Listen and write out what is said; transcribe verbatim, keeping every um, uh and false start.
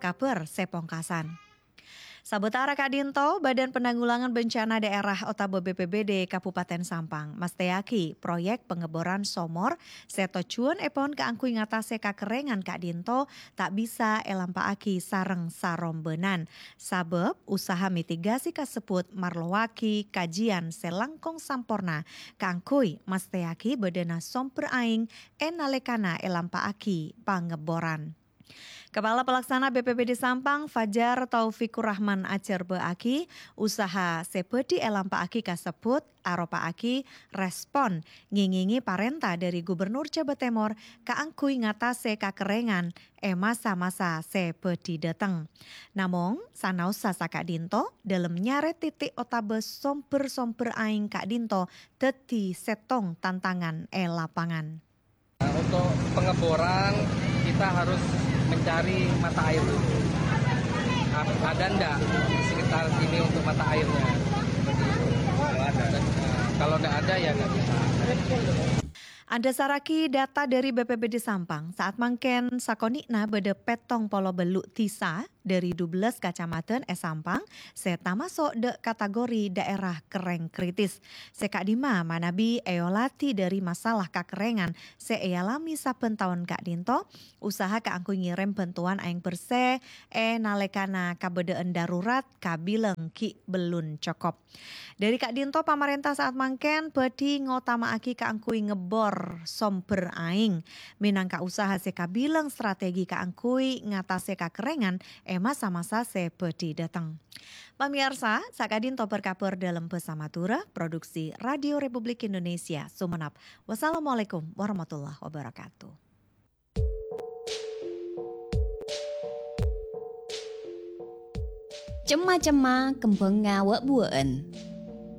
kabhâr sè pongkasan. Sabâtara ka'dinto, Badan Penanggulangan Bencana Daerah otabâ B P B D Kabupaten Sampang mastèyaghi proyek pengeboran somor sè tojjhuwânnèpon kaangghuy ngatasè kakerrèngan ka'dinto ta' bisa èlampa'aghi sareng sarombhânan, sabâb usaha mitigasi kasebbhut marlowaghi kajiyân sè langkong samporna kaangghuy mastèyaghi bâdâna sombher aèng è nalèkana èlampa'aghi pangeboran. Kepala Pelaksana B P B D Sampang, Fajar Taufikur Rahman, ajhârbâ'âghi usaha sè bhâdhi èlampa'aghi kasebbhut aropa'aghi respon ngèngèngè parènta dhâri Gubernur Jhâbâ Tèmor kaangghuy ngatasè kakerrèngan è masa-masa sè bhâdhi dâteng. Namong, sanaossa saka'dinto, dhâlem nyarè titik otabâ sombher-sombher aèng ka'dinto dhâddhi sèttong tantangan è lapangan. Nah, untuk pengeboran, kita harus mencari mata air dulu. Ap- Ada ndak di sekitar sini untuk mata airnya? Kalau ada, ya nggak bisa. Adhâsarraghi data dhâri B P B D Sampang, saat mangkèn sakonè'na bâdâ pèttong polo bâllu' dhisa dhâri dubellâs kacamadhân è Sampang sè tamaso' dâ' kategori dhaèra kerrèng kritis, sè ka'dimma manabi èolatè dhâri masalah kakerrèngan sè èalamè sabbhân taon ka'dinto, usaha kaangghuy ngèrèm bhântowan aèng bersè è nalèkana kabâdâ'ân darurat kabilang ghi' bellun cokop. Dhâri ka'dinto, pamarènta saat mangkèn bhâdhi ngotama'aghi kaangghuy ngebbor sombher aèng, mènangka usaha sè kabilang strategi kaangghuy ngatasè kakerrèngan è masa-masa sè bhâdhi dâteng. Pamèyarsa, saka'dinto berkabar dalam Bhâsa Madhurâ, produksi Radio Republik Indonesia, Sumenep. Wassalamualaikum warahmatullahi wabarakatuh. Cemma-cemma kembhângnga wâ'-buwâ'ân.